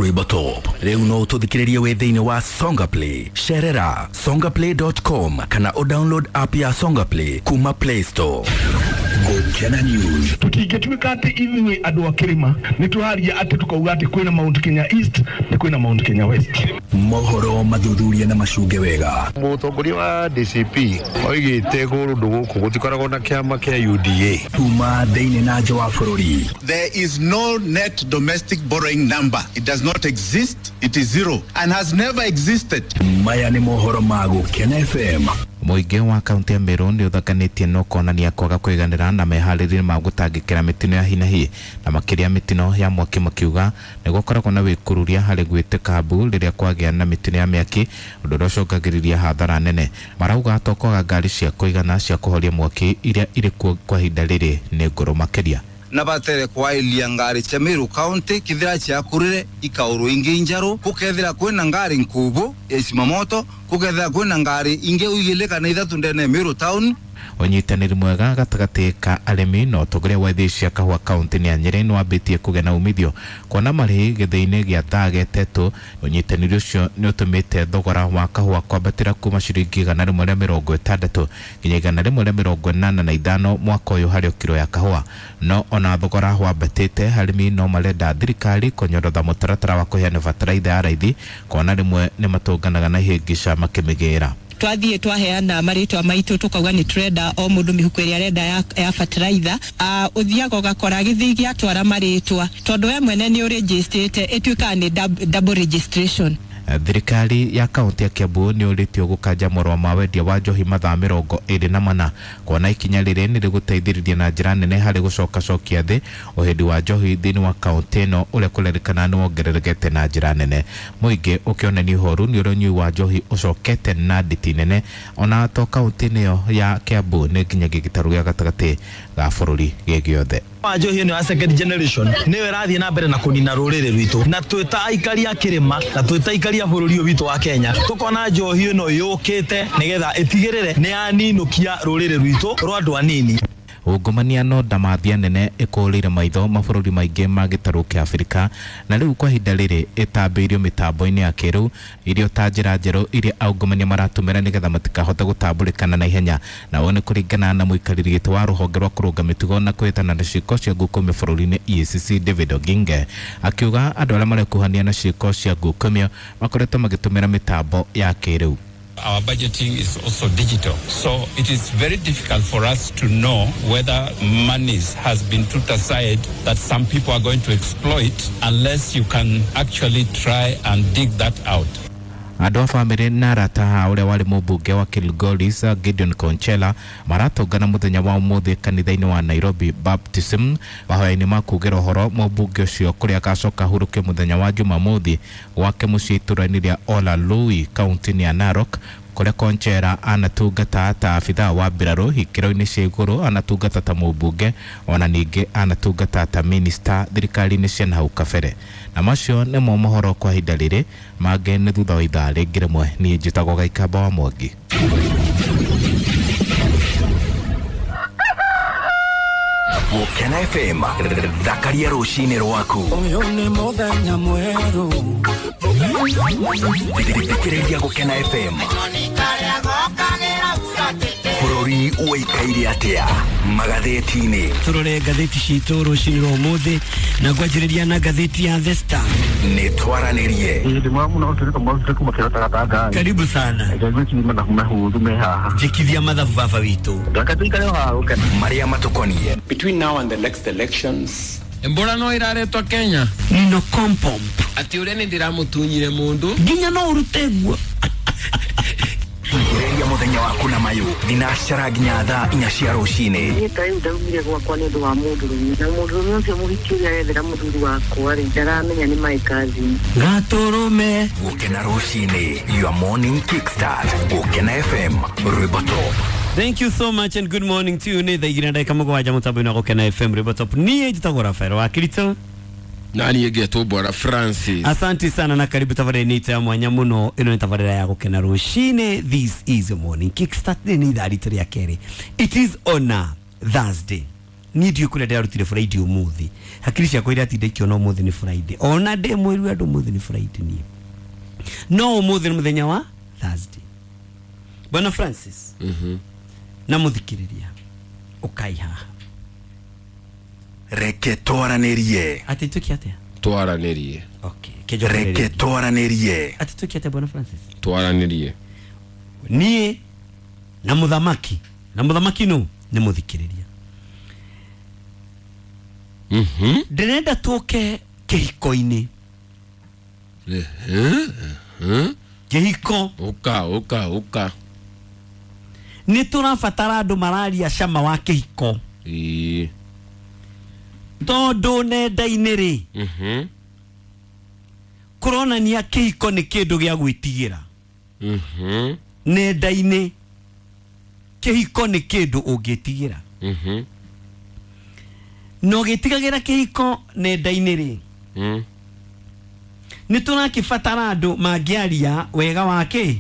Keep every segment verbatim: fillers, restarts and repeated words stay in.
Rwĩmbo Top. Rĩu no ũtũthikĩrĩrie wĩ thĩinĩ wa Songa Play. Cerera songaplay dot com kana ũdownload app ya Songa Play kuma Play Store. Gũkena News. Tũtingĩtuĩka atĩ ithuĩ andũ a kĩrĩma nĩ tũraria atĩ tũkauga atĩ kwĩna Mount Kenya East na kwĩna Mount Kenya West. Mohoro mathuthuria na macunge wega. Mũtongoria wa D C P oigĩte kũndũ gũkũ gũtikoragwo na kĩama kĩa U D A. Kuma thĩinĩ na nja wa bũrũri. There is no net domestic borrowing number. It does not exist. It is zero and has never existed. Maya nĩ mohoro ma Gũkena F M. Mũingĩ wa kaunti ya Meru nĩ ũthakanĩtie na ũkonania kwaga kũiganĩra na meharĩria ma gũtangĩkĩra mĩtino ya hinahi na makĩria mĩtino ya mwaki, makiuga nĩ gũkoragwo na wĩkururia harĩ gwĩtĩka mbu rĩrĩa kwagĩa na mĩtino ya mĩaki, ũndũ ũrĩa ũcũngagĩrĩria hathara nene. Marauga to kwaga ngari cia kũigana cia kũhoria mwaki iria irĩ kuo kwa ihinda rĩrĩ nĩ ngũrũ makĩria. Na batere kwailia ngari cia Meru County kithira ciakurire ikauru ingi njaru kukethira kwina ngari nkubu ya cimamoto kukethira kwina ngari ingi uigile kana ithatu ndene Meru Town. Ũnyitanĩri mwega gatagatĩ ka arĩmi na ũtongoria wa ithĩi cia kahũa kaunti-inĩ ya Nyĩrĩ nĩ wambĩtie kũgĩa na umithio kuona marĩhi gĩthĩi-inĩ gĩa Thage Tetũ. Ũnyitanĩri ũcio nĩ ũtũmĩte thogora wa kahũa kwambatĩra kuma ciringi igana rĩmwe rĩa mĩrongo ĩtandatũ nginya igana rĩmwe rĩa mĩrongo ĩnana na ithano mwaka ũyũ harĩ kiro ya kahũa. No ona thogora wambatĩte, arĩmi no marenda thirikari kũnyorotha mũtaratara wa kũheana bataraitha ya raithi kuona rĩmwe nĩ matũnganaga na ihĩngĩca makĩmĩgĩra. Twathiĩ twaheana marĩtwa maitũ tukauga nĩ turenda o mũndũ mĩhuko ĩrĩa arenda ya, ya fertilizer. Uh, ũthiaga ũgakora gĩthii gĩatwara marĩtwa tondũ we mwene nĩ ũrĩnjĩstĩte, ĩtuĩkaga nĩ double registration. Thirikari ya kaunti ya Kiambu nĩ ũrĩtio gũkanja marũa ma wendia wa njohi mathaa mĩrongo ĩrĩ na mana kuona ikinya rĩrĩ nĩ rĩgũteithĩrĩria na njĩra nene harĩ gũcokacokia thĩ ũhĩndi wa njohi thĩinĩ wa kaunti ĩno ũrĩa kũrerĩkana nĩ wongererekete na njĩra nene. Mũingĩ ũkĩonania ũhoru nĩ ũrĩa ũnyui wa njohi ũcokete na nditi nene ona to kaunti-inĩ ĩyo ya Kiambu nĩ nginyagia gĩtarũ gĩa gatagatĩ ga bũrũri gĩ gĩothe. Wa njohi ĩno ya second generation nĩyo ĩrathiĩ na mbere na kũnina rũrĩrĩ rwitũ, na twĩ ta aikari a kĩrĩma na twĩ ta aikari a bũrũri ũyũ witũ wa Kenya tũkona njohi ĩno yũkĩte nĩgetha ĩtigĩrĩre nĩ yaninũkia rũrĩrĩ rwitũ rwa andũ anini. Ungumania no ndamathia nene ĩkũrĩire maitho mabũrũri maingĩ ma gĩtarũ kĩa Afrika na rĩu kwa ihinda rĩrĩ ĩtambĩirio mĩtambo-inĩ ya kĩrĩu irio ta njĩra njerũ iria aungumania maratũmĩra nĩgetha matikahote gũtambũrĩkana na ihenya. Na ũũ nĩ kũringana na mũikarĩri gĩtĩ wa rũhonge rwa kũrũnga mĩtugo na kũhĩtana na ciĩko cia ngukumio bũrũri-inĩ E A C C David Oginge akiuga andũ arĩa marekuhania na ciĩko cia ngukumio makoretwo magĩtũmĩra mĩtambo ya kĩrĩu. Our budgeting is also digital, so it is very difficult for us to know whether monies has been put aside that some people are going to exploit unless you can actually try and dig that out. Andũ a bamĩrĩ na arata a ũrĩa warĩ mũmbunge wa Kilgoris Gideon Konchela maratũngana mũthenya wa ũmũthĩ kanitha-inĩ wa Nairobi Baptism mahoya-inĩ ma kugĩra ũhoro mũmbunge ũcio kũrĩa agacoka ahurũke mũthenya wa Jumamothi gwake mũciĩ itũũra-inĩ rĩa Olalui kaunti-inĩ ya Narok kũrĩa Konchera anatungata ta abithaa wa mbirarũ ikĩro-inĩ cia igũrũ, anatungata ta mũmbunge ona ningĩ anatungata ta minista thirikari-inĩ cia nahau kabere. Na macio nĩmo mohoro kwa ihinda rĩrĩ, mangĩ nĩ thutha wa ithaa rĩngĩ rĩmwe. Niĩ njĩtagwo Gaikamba wa Mwangi. Gũkena F M thakaria rũcinĩ rwaku. Ũyũ nĩ mũthenya mwerũ. Thikĩrĩria Gũkena F M. Bũrũri ũikaire atĩa magathĩti-inĩ? Tũrore ngathĩti citũ rũcinĩ rwa ũmũthĩ na ngwanjĩrĩria na ngathĩti ya The Star. Nĩ twaranĩrie. Karibu sana. Njĩkithia mathabu baba witũ. Marĩa matũkoniĩ. Between now and the next elections, Embora no iraretwo Kenya. Nino kompomp. Ati ũrĩa nĩ ndĩramũtunyire mũndũ. Nginya no ũrute guo. Thikĩrĩria mũthenya waku na mayũ thinacara nginya thaa inya cia rũcinĩ. Niĩ ta rĩu ndaumire gwakwa nĩ ũndũ wa mũndũrũme, na mũndũrũme ũcio mũhiki ũrĩa arethera mũthuri wakwa rĩ, ndaramenya nĩ my cousin. Gatũrũme. Gũkena rũcinĩ, your morning kickstart. Gũkena F M, Rwĩmbo Top. Thank you so much and good morning to you. Nĩ thaa igĩrĩ na ndagĩka mũgwanja mũtambo-inĩ wa Gũkena F M Rwĩmbo Top. Niĩ njĩtagwo Rafael wa Kirito. Nani yegetwo Bwana Francis. Asante sana na karibu tabarĩra-inĩ itũ ya mwanya mũno. Ĩno nĩ tabarĩra ya Gũkena rũcinĩ. This is your morning kickstart. Nĩ ithaa ritũ rĩa kerĩ. It is on a Thursday. Niĩ ndiũĩ kũrĩa ndĩrarutire Friday ũmũthĩ. Hakiri ciakwa iratinda ikĩona ũmũthĩ nĩ Friday. Ona ndĩ mwĩru andũ ũmũthĩ nĩ Friday niĩ. No ũmũthĩ nĩ mũthenya wa Thursday. Bwana Francis. Mhm. Na mũthikĩrĩria. Ũkai haha. Reke twaranĩrie. Atĩ twĩke atĩa? Twaranĩrie. Okay. Kĩnjokerere. Reke twaranĩrie. Atĩ twĩke atĩa Bwana Francis? Twaranĩrie. Niĩ na mũthamaki. Na mũthamaki nũ? Nĩ mũthikĩrĩria. Mhm. Ndĩrenda tũke kĩhiko-inĩ. Mhm. Kĩhiko. Ũka ũka ũka. Nĩ tũrabatara andũ mararia cama wa kĩhiko. Ĩĩ. Tondũ nenda-inĩ rĩ. Mhm. Kũronania kĩhiko nĩ kĩndũ gĩa gwĩtigĩra. Mhm. Nenda-inĩ kĩhiko nĩ kĩndũ ũngĩtigĩra. Mhm. Na ũgĩtigagĩra kĩhiko nenda-inĩ rĩ. Mm. Nĩ tũrakĩbatara andũ mangĩaria wega wa kĩ?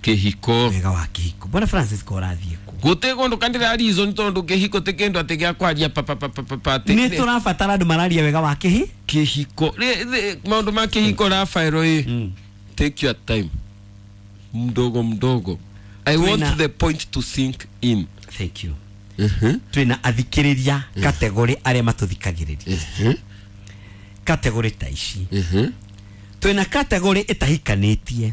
Kĩhiko. Wega wa kĩhiko. Bwana Francis ko ũrathiĩ kũ? Gũtirĩ kũndũ kandĩra reason tondũ kĩhiko ti kĩndũ atĩ gĩa kwaria pa pa pa pa pa pa atĩ- Nĩ tũrabatara andũ mararia wega wa kĩhi? Kĩhiko. Rĩ- rĩ- maũndũ ma kĩhiko Rafael ĩ. Take your time. Mdogo mdogo. I Twĩna- want the point to sink in. Thank you. Mhm. Twĩna athikĩrĩria kategori arĩa matũthikagĩrĩria. Mhm. Kategori ta ici. Mhm. Twĩna kategori ĩtahikanĩtie.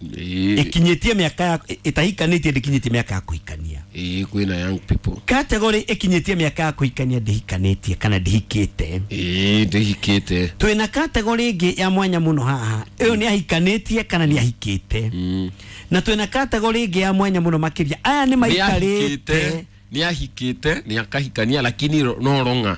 Ĩĩ. Ĩkinyĩtie mĩaka ya ĩtahikanĩtie ndĩkinyĩtie mĩaka ya kũhikania. Ĩĩ kwĩna young people. Kategori ĩkinyĩtie mĩaka ya kũhikania ndĩhikanĩtie kana ndĩhikĩte. Ĩĩ ndĩhikĩte. Twĩna kategori ĩngĩ ya mwanya mũno haha. Ĩyo nĩ ahikanĩtie kana nĩ ahikĩte. Mm. Na twĩna kategori ĩngĩ ya mwanya mũno makĩria. Aya nĩ maikarĩte. Nĩ ahikĩte, nĩ akahikania lakini ro- no ronga.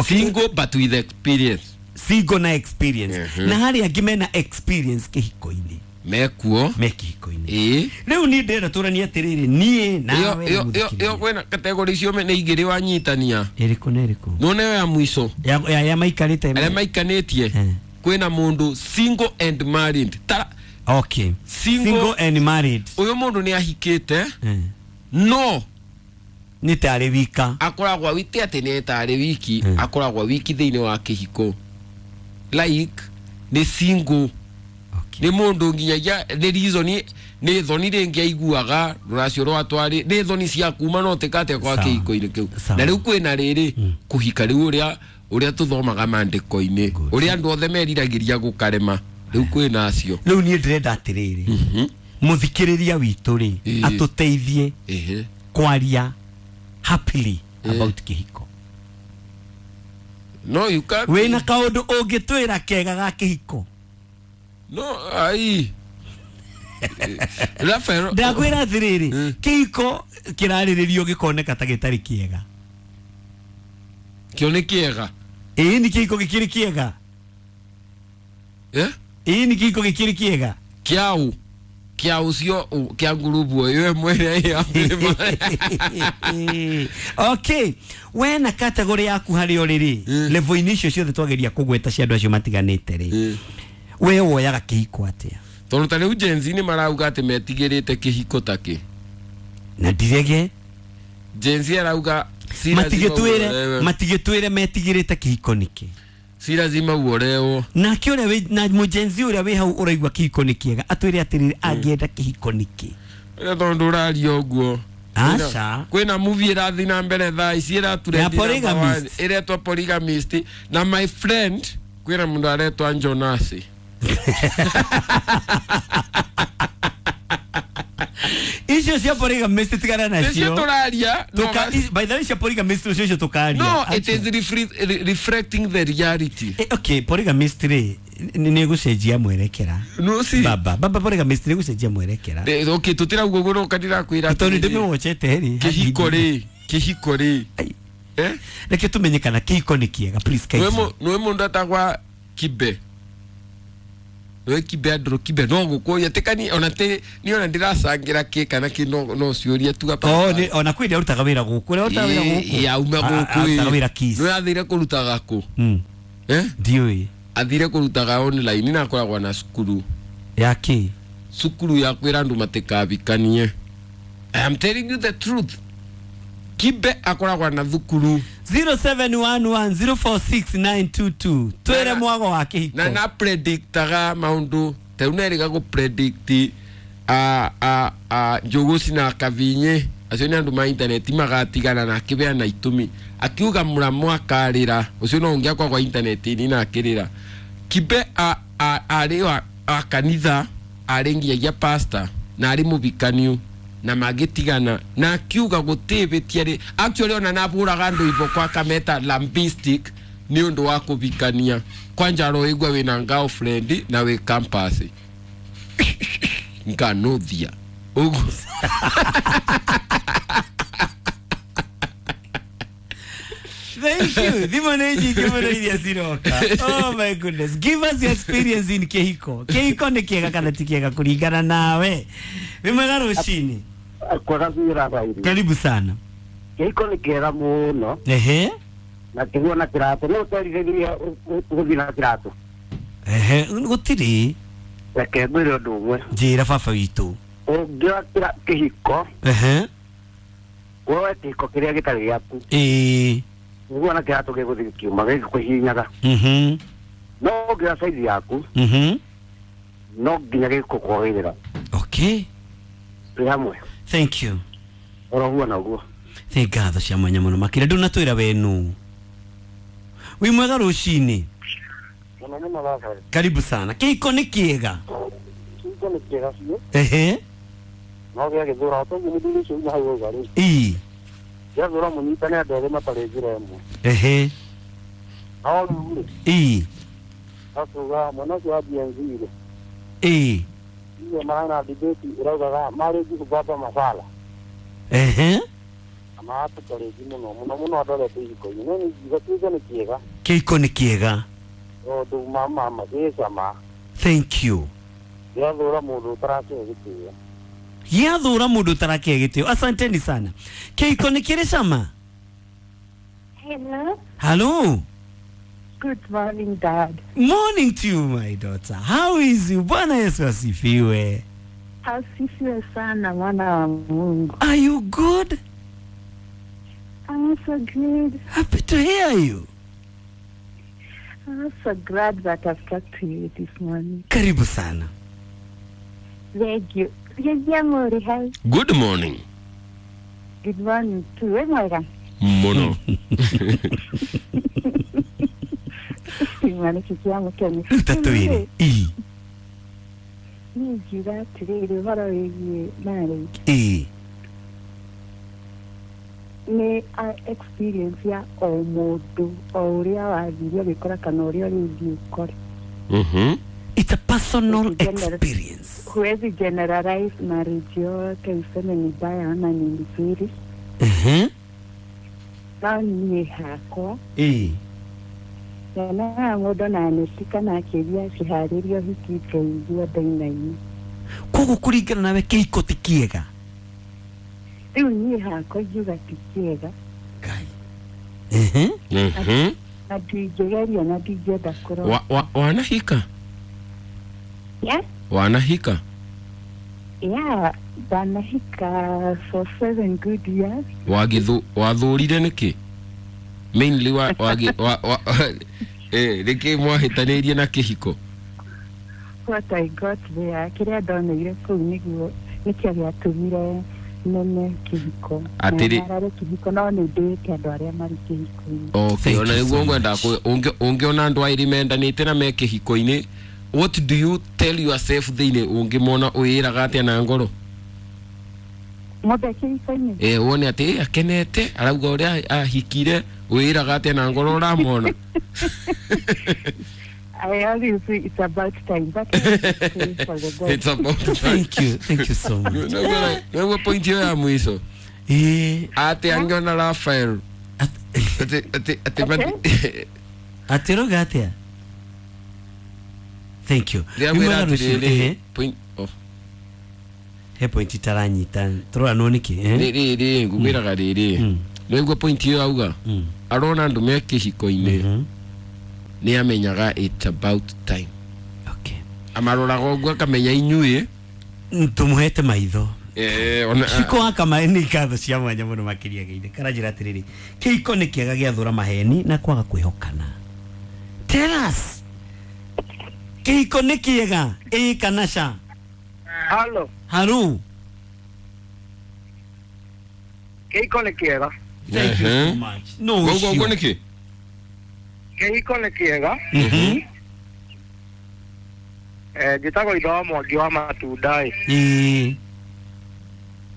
Single but with experience. Single na experience. Mhm. Na harĩ angĩ mena experience kĩhiko-inĩ. Mekuo. Me kĩhiko-inĩ. Ĩĩ. Rĩu niĩ ndĩrenda tũranie atĩrĩrĩ niĩ Ĩyo nawe na ĩyo ĩyo mũthikĩrĩria. ĩyo kwĩna kategori icio me- nĩ igĩrĩ wanyitania. Ĩrĩkũ na ĩrĩkũ? None ĩyo ya mũico. Ya ya ya maikarĩte. Arĩa maikanĩtie. Eh. Kwĩna mũndũ single and married. Tara Okay. Single- Single and married. ũyũ mũndũ nĩ ahikĩte Eh. no Nĩ tarĩ wika. akoragwo wiki atĩ nĩ tarĩ wiki Mm. akoragwo wiki thĩinĩ wa kĩhiko like nĩ single Okay. nĩ mũndũ nginyagia nĩ reason nĩ thoni rĩngĩ aiguaga rũracio rwa twarĩ nĩ thoni cia kuma no tĩkate kwa Sawa. kĩhiko-inĩ kĩu Sawa. na rĩu kwĩna rĩrĩ Mm. kũhika rĩu ũrĩa ũrĩa tũthomaga mandĩko-inĩ Good. ũrĩa andũ othe meriragĩria gũkarema rĩu kwĩna acio Rĩu niĩ ndĩrenda atĩrĩrĩ. Mũthikĩrĩria witũ rĩ Ĩĩ. atũteithie Ĩhĩ. kwaria happily Ĩĩ. about kĩhiko. no you can't Wĩna kaũndũ ũngĩtwĩra kega ga kĩhiko. no ai Rafael Ndakwĩra atĩrĩrĩ Mm. kĩhiko kĩrarĩrĩrio gĩkoneka ta gĩtarĩ kĩega. kĩo nĩ kĩega Ĩĩ nĩ kĩhiko gĩkĩrĩ kĩega. eh Ĩĩ nĩ kĩhiko gĩkĩrĩ kĩega. kĩau kĩa ũcio kĩa ngurubu ĩyo ĩmwe ĩrĩa ya Okay, we na kategori yaku harĩ ũrĩ rĩ Mm. level-inĩ icio ciothe twageria kũgweta cia andũ acio matiganĩte rĩ Mm. we woyaga kĩhiko atĩa tondũ ta rĩu Gen Z nĩ marauga atĩ metigĩrĩte kĩhiko ta kĩ na ndirege Gen Z arauga si lazima matigĩtwĩre uolewe. matigĩtwĩre metigĩrĩte kĩhiko nĩkĩ si lazima uolewo nake ũrĩa wĩ na mũjenzi ũrĩa wĩ hau ũraigua kĩhiko nĩ kĩega atwĩre atĩrĩrĩ angĩenda kĩhiko nĩkĩ Ĩrĩa tondũ ũraria ũguo Aca. kwĩna movie ĩrathiĩ na mbere thaa ici Ya ĩratũrendi Polygamist. ĩretwo polygamist na my friend kwĩna mũndũ aretwa Jonas icio cia polygamist tigana nĩcio nacio tũraria no Tuka- ga- i- by the way cia polygamist ũcio icio tũkaria no it Aca. is refre- re- reflecting the reality Eh, okay polygamist rĩ nĩ nĩ gũcenjia mwerekera no si baba baba polygamist nĩ gũcenjia mwerekera De- okay tũtirauga ũguo no ndĩrakwĩra tondũ nĩ atĩrĩrĩ, ndĩmĩwochete rĩ kĩhiko rĩ kĩhiko rĩ Ai. eh reke tumenye kana kĩhiko nĩ kĩega please nĩwe kindly. mũ- nĩwe mũndũ atagwa kibe nĩwe kibe andũ kibe no gũkũria tĩkani ona tĩ niĩ ona ndĩracangĩra kĩ kana kĩ no no ciũria tu hapa Oh, nĩ- ona kwĩ arutaga wĩra gũkũ ũrĩa ũrutaga wĩra gũkũ yauma A- a- gũkũ arutaga wĩra Kiss. nĩwe athire kũrutaga kũ Mm, eh ndiũĩ athire kũrutaga online na akoragwo na cukuru ya kĩ cukuru ya kwĩra andũ matikabikanie I am telling you the truth. Kibe akoragwa na thukuru zero seven one one zero four six nine two two twere mwago wa kihiko na na predictaga maundu teu neriga gu predict a a a Njuguci na Kavinye acio ni andu ma internet magatigana na akibeana itumi akiuga muramo akarira ucio no ungiakwa kwa internet ni na akirira Kibe a a ari wa kanitha ari nginya pastor na ari mubikaniu na magitigana na akiuga gutibitia ri actually ona naburaga andu ibo kwa kameta lambistic ni undu wa kubikania kwanja ro igwa wina girlfriend na we campus nganuthia ugu Thank you. Thimo nĩ nyingĩ mũno iria ciroka. Oh my goodness. Give us your experience in kĩhiko. Kĩhiko nĩ kĩega kana ti kĩega kũringana nawe. Wĩ mwega rũcinĩ. Kwega biũ Rafaeli. Karibu sana. Kĩhiko nĩ kĩega mũno. Ehe. Na kĩguo na kĩratũ. No ũterithĩria gũthiĩ na kĩratũ. Ehe, gũtirĩ. Reke ngwĩre ũndũ ũmwe. Njĩra baba witũ. Ũngĩoya kĩhiko. Ehe. Woe kĩhiko kĩrĩa gĩtarĩ gĩaku. Ĩĩ. Niguo na kĩratũ gĩgũthiĩ gĩkiuma gĩgĩkũhihinyaga. Mhm. No ũngĩoya saizi yaku. Mhm. No nginya gĩgũkwagĩrĩra. Okay. Twĩ hamwe. Thank you. Oro huo na ũguo. Nĩ ngatho cia mwanya mũno makĩria ndũnatwĩra we nũ. Wĩ mwega rũcinĩ. Mũno mũno Rafael. Karibu sana. Kĩhiko nĩ kĩega. Kĩhiko nĩ kĩega biũ. Ehe. No gĩagĩthũra toguo mũthuri ũcio uma hau auga rĩ. Ĩĩ. Gĩathũra mũnyitane andũ erĩ matarĩ njĩra ĩmwe. Ehe. No rĩu rĩ. Ĩĩ. Akuga mwana ũcio wa Gen Z rĩ. Ĩĩ. Iye marana debate ĩraugaga marriage kubaba mafala. Ehe. Amaatũtarĩki mũno mũno mũno andũ arĩa twĩ ihiko-inĩ no nĩ kĩhiko nĩ kĩega. Kĩhiko nĩ kĩega. Tondũ mama ma gĩcama. Thank you. Gĩathũra mũndũ ũtarakĩhe gĩtĩo. Gĩathũra mũndũ ũtarakĩhe gĩtĩo. Asanteni sana. Kĩhiko nĩ kĩrĩ cama? Hello. Hello. Good morning, Dad. Morning to you, my daughter. How is you? Bwana Yesu asifiwe. Asifiwe sana mwana wa Mungu. Are you good? I'm so good. Happy to hear you. I'm so glad that I've talked to you this morning. Karibu sana. Thank you. Good morning. Good morning to you. Mono. Ruta Ii. Ii. Nĩ experience ya o mũndũ o ũrĩa wathire ũgĩkora kana ũrĩa ũrĩthiĩ ũkore. Mhm. It's a personal experience. Huwezi generalize marriage yote useme ni mbaya ama ni nzuri. Mhm. No niĩ hakwa. Ĩĩ. Nyonaga mũndũ na anĩtika na akĩria akĩharĩria ũhiki ngaigua ndainaina. Koguo kũringana nawe kĩhiko ti kĩega? Rĩu niĩ hakwa ingiuga ti kĩega. Ngai. Mhm. Mhm. Na ndingĩgeria na ndingĩenda kũrora. Wa, wa, wanahika? Yeah. Wanahika? Yeah, ndanahika for seven good years. Wagithu wathurire nĩkĩ? Mainly wa wagi wa, wa eh nĩkĩ mwahĩtanĩirie na kĩhiko? What I got there, kĩrĩa ndoneire kũu nĩguo nĩkĩo gĩatũmire nene kĩhiko. Atĩrĩ Narare kĩhiko no nĩ ndĩĩte andũ arĩa marĩ kĩhiko-inĩ. Okay, ona nĩguo ngwenda ũngĩona andũ aĩrĩ mendanĩte na me kĩhiko-inĩ, what do you tell yourself thĩinĩ ũngĩmona wĩĩraga atĩa na ngoro? Mũndũ e kĩhiko-inĩ? Eh, wone atĩ akenete arauga ũrĩa ahikire wĩĩraga atĩa na ngoro ũramona? I always say it's about time. But for the God. It's about time. Thank you. Thank you so much. Nĩguo point ĩyo ya mũico. Eh, atĩ angĩona Rafael atĩ atĩ atĩ atĩ rauga atĩa? Thank you. Ndĩramwĩra atĩrĩrĩ, point oh. He point itaranyita tũroranwo nĩkĩ? Rĩrĩ rĩ ngwĩraga rĩrĩ nĩguo point ĩyo auga arona andũ me kĩhiko-inĩ nĩ amenyaga it's about time. Okay. Amaroraga ũguo akamenya inyuĩ tũmũhete maitho. Eh ona Ciko wa kamaĩ nĩ ngatho cia mwanya mũno makĩria geithe karanjĩra atĩrĩrĩ kĩhiko nĩ kĩega gĩathũra maheni na kwaga kwĩhokana. Tell us, kĩhiko nĩ kĩega ĩĩ kana ca? Halo. Haru. Kĩhiko nĩ kĩega. Thank you so much. No Ũguo ũguo nĩkĩ? Kĩhiko nĩ kĩega. Mhm. Eh njĩtagwo Ithe wa Mwangi wa Matunda ĩ. Ĩĩ.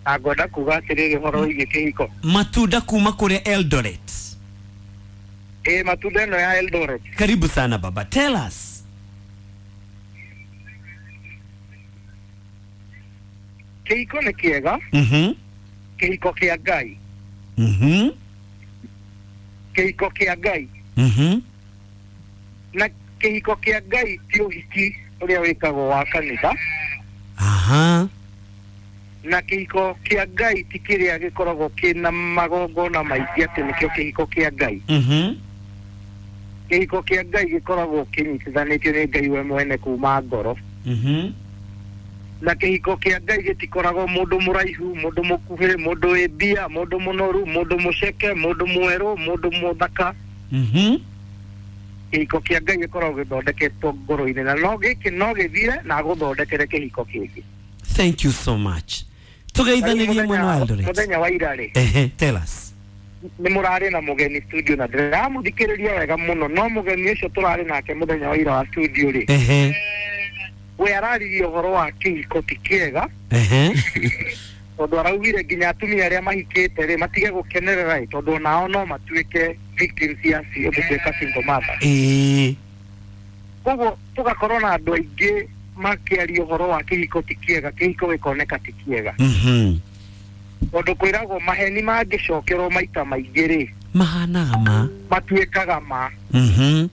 Na ngwenda kuga atĩrĩrĩ ũhoro wĩgiĩ kĩhiko. Matunda kuma kũrĩa Eldoret. Ĩ matunda ĩno ya Eldoret. Karibu sana baba. Tell us. Kĩhiko nĩ kĩega. Mhm. Kĩhiko kĩa Ngai. Mhm. Kĩhiko kĩa Ngai. Mhm. Na kĩhiko kĩa Ngai ti ũhiki ũrĩa wĩkagwo wa kanitha. Aha. Na kĩhiko kĩa Ngai ti kĩrĩa gĩkoragwo kĩna magongona maingĩ atĩ nĩkĩo kĩhiko kĩa Ngai. Mhm. Kĩhiko kĩa Ngai gĩkoragwo kĩnyitithanĩtio nĩ Ngai we mwene kuma ngoro. Mhm. Na kĩhiko kĩa Ngai gĩtikoragwo mũndũ mũraihu, mũndũ mũkuhĩ, mũndũ wĩ mbia, mũndũ mũnoru, mũndũ mũceke, mũndũ mwerũ, mũndũ mũthaka. Mhm. Kĩhiko kĩa Ngai gĩkoragwo gĩthondeketwo ngoro-inĩ na no gĩkĩ no gĩthire na gũthondekere kĩhiko kĩngĩ. Thank you so much. Tugeithanĩrie mwena wa Eldoret. Mũthenya wa ira rĩ. Ehe, tell us. Nĩ mũrarĩ na mũgeni studio na ndĩramũthikĩrĩria wega mũno no mũgeni ũcio tũrarĩ nake mũthenya wa ira wa studio rĩ. Ehe. We araririe ũhoro wa kĩhiko ti kĩega. Ehe. Tondũ araugire nginya atumia arĩa mahikĩte rĩ matige gũkenerera ĩ tondũ onao no matuĩke victims ya gũtuĩka single mother. Ĩĩ. Koguo tũgakorwo na andũ aingĩ makĩaria ũhoro wa kĩhiko ti kĩega, kĩhiko gĩkoneka ti kĩega. Mhm. Tondũ kwĩragwo maheni mangĩcokerwo maita maingĩ rĩ mahanaga ma matuĩkaga ma. Mhm.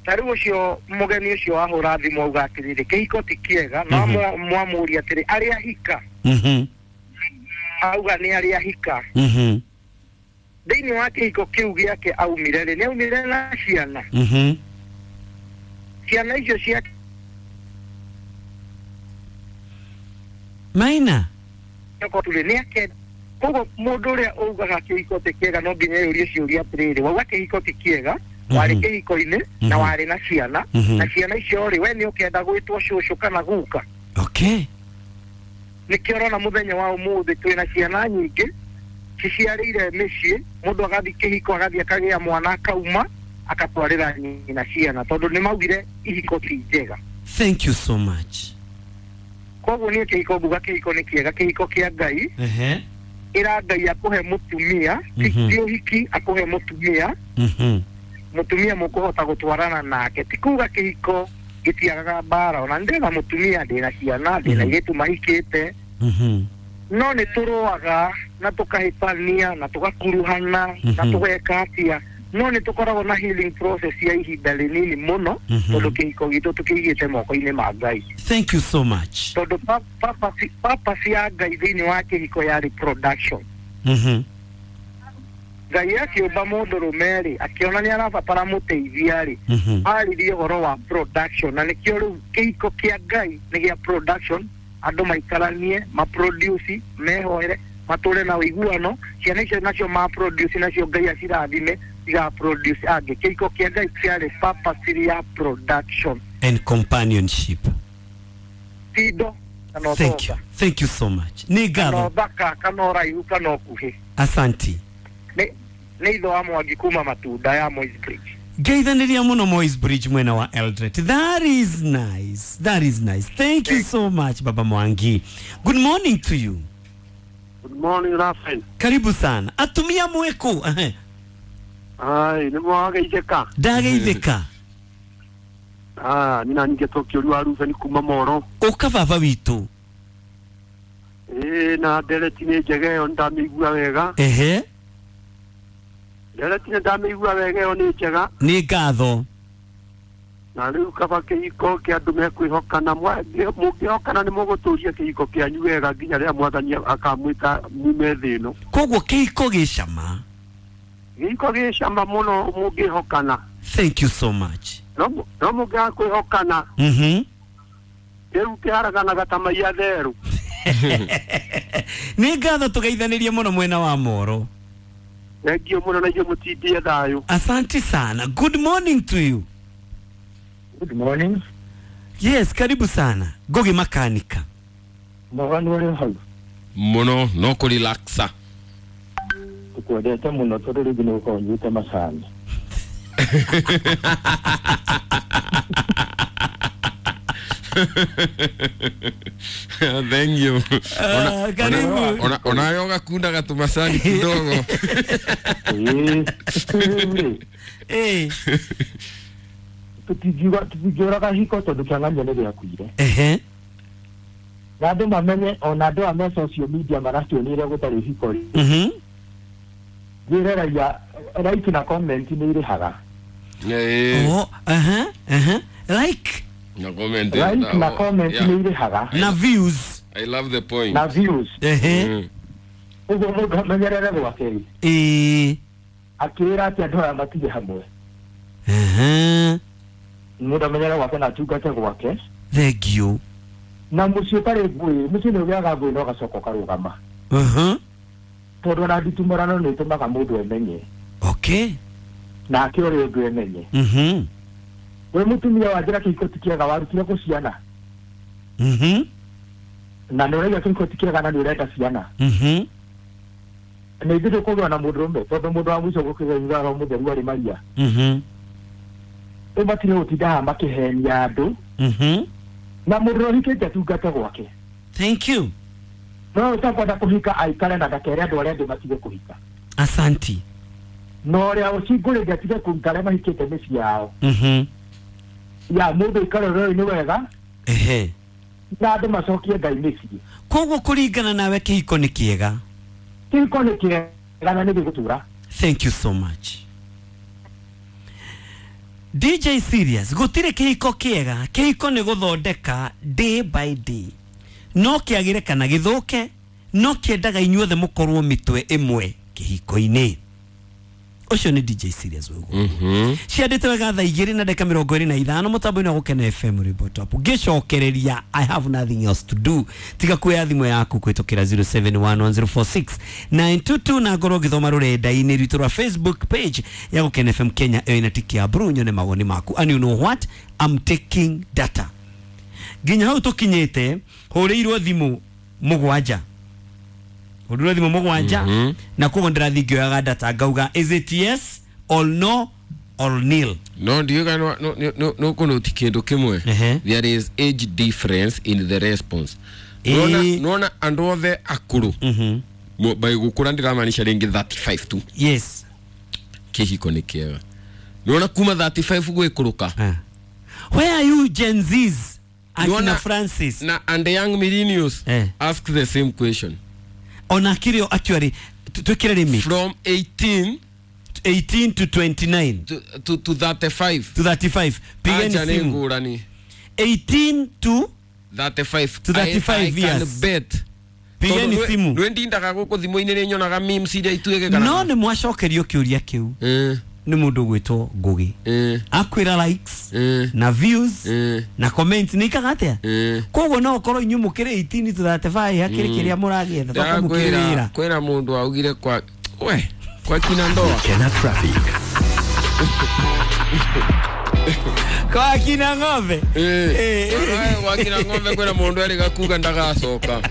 Ta rĩu ũcio mũgeni ũcio wahũra thimũ auga atĩrĩrĩ kĩhiko ti kĩega no mwamũria atĩrĩ arĩa hika. Mhm. Auga nĩ arĩa hika. Mhm. Thĩinĩ wa kĩhiko kĩu gĩake aumire rĩ nĩ aumire na ciana. Mhm. Ciana icio cia Maina nĩ ake. Koguo mũndũ ũrĩa augaga kĩhiko ti kĩega no nginya eyũrie ciũria atĩrĩrĩ wauga kĩhiko ti kĩega warĩ kĩhiko-inĩ na warĩ na ciana na ciana icio rĩ we nĩ ũkenda gwĩtwo cũcũ kana guka. Okay. Nĩkĩo ũrona mũthenya wa ũmũthĩ twĩna ciana nyingĩ ciciarĩire mĩciĩ mũndũ agathiĩ kĩhiko agathiĩ akagĩa mwana akauma akatwarĩra nyina ciana tondũ nĩ maugire ihiko ti njega. Thank you so much. Koguo niĩ kĩhiko nguga kĩhiko nĩ kĩega, kĩhiko kĩa Ngai. Ehe. Ĩra Ngai akũhe mũtumia, ti ũhiki akũhe mũtumia. Mhm. Mũtumia mũkũhota gũtwarana nake ti kuga kĩhiko gĩtiagaga mbara ona ndĩna mũtumia ndĩna ciana ndĩna airĩtu mahikĩte. Mhm. No nĩ tũrũaga na tũkahĩtania na tũgakuruhana na tũgeka atĩa no nĩ tũkoragwo na healing process ya ihinda rĩnini mũno tondũ kĩhiko gitũ tũkĩigĩte moko-inĩ ma Ngai. Thank you so much. Tondũ purpose ya Ngai thĩinĩ wa kĩhiko yarĩ production. Mhm. Ngai akĩũmba mũndũrũme rĩ akĩona nĩ arabatara mũteithia rĩ aririe ũhoro wa production na nĩkĩo rĩu kĩhiko kĩa Ngai nĩ gĩa production andũ maikaranie maproduce mehoere matũre na ũiguano ciana icio nacio maproduce nacio Ngai acirathime igaproduce angĩ. Kĩhiko kĩa Ngai kĩarĩ purpose ya production and companionship. Tindo kana Thank you. Thank you so much. Nĩ ngatho. Kana ũthaka kana ũraihu kana ũkuhĩ. Asanti. Nĩ itho wa Mwangi kuma Matunda ya Moi's Bridge. Ngeithanĩria mũno Moi's Bridge mwena wa Eldoret. That is nice. That is nice. Thank you so much Baba Mwangi. Good morning to you. Good morning Rafael. Karibu sana. Atumia mweku. Ai, nĩ mwageithĩka. Ndageithĩka. Ah, nina ningetokio rwa Ruben kuma Moro. Ũka baba witũ. Ĩĩ na ndereti nĩ njega ĩyo ndamĩigua wega. Ehe. Ndereti nĩ ndamĩigua wega ĩyo nĩ njega. Nĩ ngatho. Na rĩu kaba kĩhiko kĩa andũ mekwĩhokana mũngĩhokana nĩ mũgũtũria kĩhiko kĩanyu wega nginya rĩrĩa mwathani akamwĩta mume thĩ ĩno. Koguo kĩhiko gĩ cama. Kĩhiko gĩ cama mũno mũngĩhokana. Thank you so much. No no mũngĩaga kwĩhokana. Mhm. Rĩu kĩharaganaga ta mai atherũ. Nĩ ngatho tũgeithanirie mũno mwena wa Moro. Thank you mũno na inyuĩ mũtindie thayũ. Asante sana. Good morning to you. Good morning. Yes, karibu sana. Gogi makanika. Mwaganu ũrĩ hau. Mũno no kũrelaxa. Tukwendete mũno tondũ rĩngĩ nĩ gũkorwo nyuĩte macani. Thank you. Uh, karibu. Ona ona yoga kunda gatumacani kidogo. Eh. Tũtingiuga tũtingĩũraga hiko tondũ kĩang'ania nĩ gĩakuire. Ehe. Na andũ mamenye ona andũ a me social media marationire gũtarĩ hiko rĩ. Mhm. Njĩre raia like na comment nĩ irĩhaga. Eh. Oh, aha, aha. Like na comment. Like na comment nĩ irĩhaga. Na views. I love the point. Na views. Ehe. Ũguo mũndũ amenyerere gwake rĩ. Eh. Akĩra atĩ andũ aya matige hamwe. Ehe. Mũndũ amenyerere gwake na atungate gwake. Thank you. Na mũciĩ ũtarĩ ngũĩ, mũciĩ nĩ ũgĩaga ngũĩ na ũgacoka ũkarũgama. Mhm. Tondũ ona nditumũrano nĩ ĩtũmaga mũndũ emenye. Okay. Na ake ũrĩa ũngĩ emenye. Mhm. We mũtumia wa njĩra kĩhiko ti kĩega warutire kũ ciana. Mhm. Na nĩ ũraiga kĩhiko ti kĩega na nĩ ũrenda ciana. Mhm. Nĩ ithuĩ tũkũgĩa na mũndũrũme tondũ mũndũ wa mũico gũkĩgĩa roho mũtheru arĩ Maria. Mhm. Rĩu matirĩ gũtinda haha makĩhenia andũ. Mhm. Na mũndũ ũhikĩte atungate gwake. Thank you. No ũtakwenda kũhika aikare na ndakere andũ arĩa angĩ matige kũhika. Asanti. Na ũrĩa ũcingũrĩte atige kũhika arĩa mahikĩte mĩciĩ yao. Mhm. Ya mũndũ aikare ũrĩa-inĩ wega. Ehe. Na andũ macokie Ngai mĩciĩ. Koguo kũringana nawe kĩhiko nĩ kĩega. Kĩhiko nĩ kĩega na nĩ gĩgũtũra. Thank you so much. D J Serious, gũtirĩ kĩhiko kĩega, kĩhiko nĩ gũthondeka day by day. No kĩagĩre kana gĩthũke, no kĩendaga inyuothe mũkorwo mĩtwe ĩmwe kĩhiko-inĩ. Ũcio nĩ D J Serious ũguo. Mhm. Ciandĩte wega thaa igĩrĩ na ndagĩka mĩrongo ĩrĩ na ithano mũtambo-inĩ wa Gũkena F M Rwĩmbo Top. Ngĩcokereria I have nothing else to do tiga kuoya thimũ yaku kũhĩtũkĩra zero seven one one zero four six nine two two na ngorwo ngĩthoma rũrenda-inĩ rwitũ rwa Facebook page ya Gũkena F M Kenya ĩyo ĩna tiki ya blue nyone mawoni maku. And you know what? I'm taking data. Nginya hau tũkinyĩte hũrĩirwo thimũ mũgwanja. Hũrĩirwo thimũ mũgwanja mm -hmm. na koguo ndĩrathiĩ ngĩoyaga data ngauga is it yes or no or nil. No ndiuga no no no no kũnoti kĩndũ kĩmwe. There is age difference in the response. Nona nona andũ othe akũrũ. Mhm. By gũkũra ndiramaanisha rĩngĩ thirty-five tu. Yes. Kĩhiko nĩ kĩega. Nona kuma thirty-five gwĩkũrũka. Where are you Gen Zs? Akina Nona, Francis na and the young millennials eh. ask the same question. Ona kirio actually twikire limit from eighteen eighteen to twenty-nine to to, to thirty-five to thirty-five. Pigeni simu ngurani eighteen to thirty-five to thirty-five I, I years. Can bet. Pigeni simu. Ndwendindaga guku thimu-inĩ nĩ nyonaga memes iria ituĩke kana no nĩ mwacokerio kĩũria kĩu eh nĩ mũndũ gwĩtwo Ngugi eh akwĩra likes eh na views eh na comments nĩ ikaga atĩa eh koguo no ũkorwo inyuĩ mũkĩrĩ eighteen to thirty-five hakĩrĩ kĩrĩa mũragĩetha toka mũkĩrĩ wĩra kwĩra mũndũ augire kwa we kwa kina ndoa Kena traffic kwa kina ng'ombe eh eh kwa kina ng'ombe kwĩra mũndũ arĩ gakuga ndagacoka.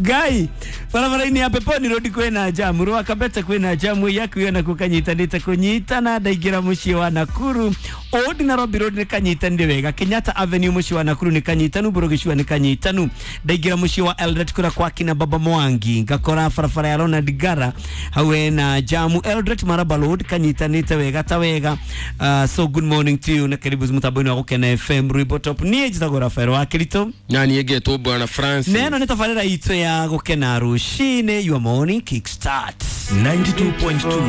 Ngai barabara-inĩ ya Peponi Road kwĩna jamu rwa Kabete kwĩna jamu yaku yona kukanyitanĩte kũnyitana ndaingĩra mũciĩ wa Nakuru Old Nairobi Road nĩ kanyitanire wega Kenyatta Avenue mũciĩ wa Nakuru nĩ kanyitanu Burugicua nĩ kanyitanu ndaingĩra mũciĩ wa Eldoret kũrĩa kwa kina Baba Mwangi ngakora barabara ya Ronald Gara hau hena jamu Eldoret Maraba Road kanyitanĩte wega ta wega. Uh, so good morning to you na karibu mũtambo-inĩ wa Gũkena F M Rwĩmbo Top. Niĩ njĩtagwo Rafael wa Kirito na niĩ ngetwo Bwana Francis neno nĩ tabarĩra itũ ya Gũkena rũcinĩ your morning kickstart ninety-two point two.